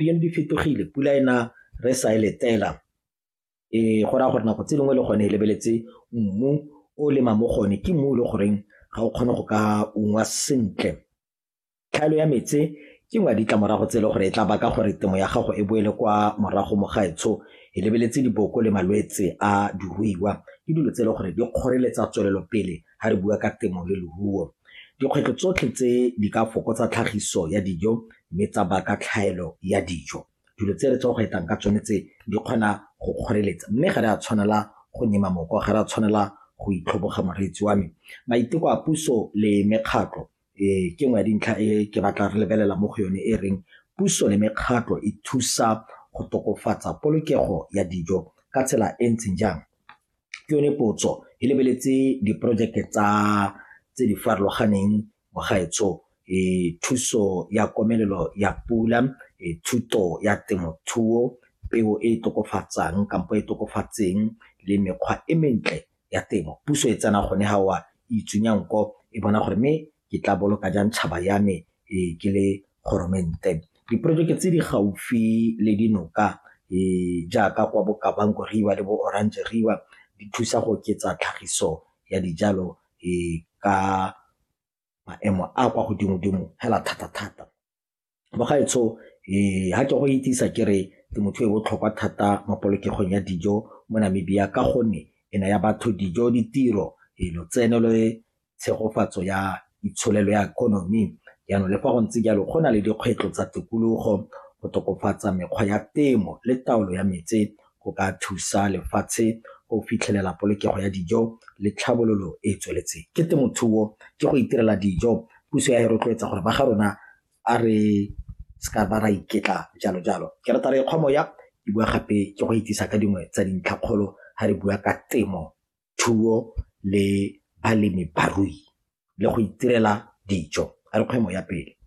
Dilo di fetogile, pula e na re sa e letela. Ee, go raya gore nako tse dingwe le gone e lebeletse mmu o lemang mo go one, ke mmu o le goreng ga o kgone go ka ungwa sentle. Tlhaelo ya metsi ke nngwe ya ditlamorago tse e leng gore e tla baka gore temo ya gago e boele kwa morago mo gaetsho, e lebeletse diboko le malwetse a diruiwa, ke dilo tse e leng gore di kgoreletsa tswelelopele ga re bua ka temo le leruo. Dikgwetlho tsotlhe tse di ka fokotsa tlhagiso ya dijo mme tsa baka tlhaelo ya dijo. Dilo tse re tswa go fetang ka tsone tse di kgona go kgoreletsa mme ga re a tshwanela go nyema mooko, ga re a tshwanela go itlhoboga moreetsi wa me. Maiteko a puso le mekgatlho ke nngwe ya dintlha e ke batla re lebelela mo go yone e reng puso le mekgatlho e thusa go tokafatsa polokego ya dijo ka tsela e ntseng jang? Ke yone potso, e lebeletse diporojeke tsa tse di farologaneng mo gaetsho thuso ya komelelo ya pula, thuto ya temothuo, peo e e tokafatsang kampo e tokafatseng le mekgwa e mentle ya temo. Puso e tsena gone fao e itsunya nko e bona gore mme ke tla boloka jang tšhaba ya me ke le goromente. Diporojeke tse di gaufi le dinoka jaaka kwa bo Kavango River le bo Orange River di thusa go oketsa tlhagiso ya dijalo ka maemo a a kwa godimo-dimo fela thata-thata. Mogaetsho fa ke go itsise ke re temothuo e botlhokwa thata mo polokegong ya dijo mo Namibia ka gonne e naya batho dijo, ditiro, lotseno le tshegofatso ya itsholelo ya ikonomi. Jaanong le fa go ntse jalo go na le dikgwetlho tsa tikologo go tokafatsa mekgwa ya temo le taolo ya metsi go ka thusa lefatshe go fitlhelela polokego ya dijo le tlhabololo e e tsweletseng. Ke temothuo, ke go itirela dijo, puso ya e rotloetsa gore ba ga rona a re seka ba ra iketla jalo-jalo. Ke rata re kgwa moya, ke boa gape ke go itsise ka dingwe tsa dintlhakgolo ga re bua ka temo, thuo le balemi barui le go itirela dijo. A re kgwe moya pele.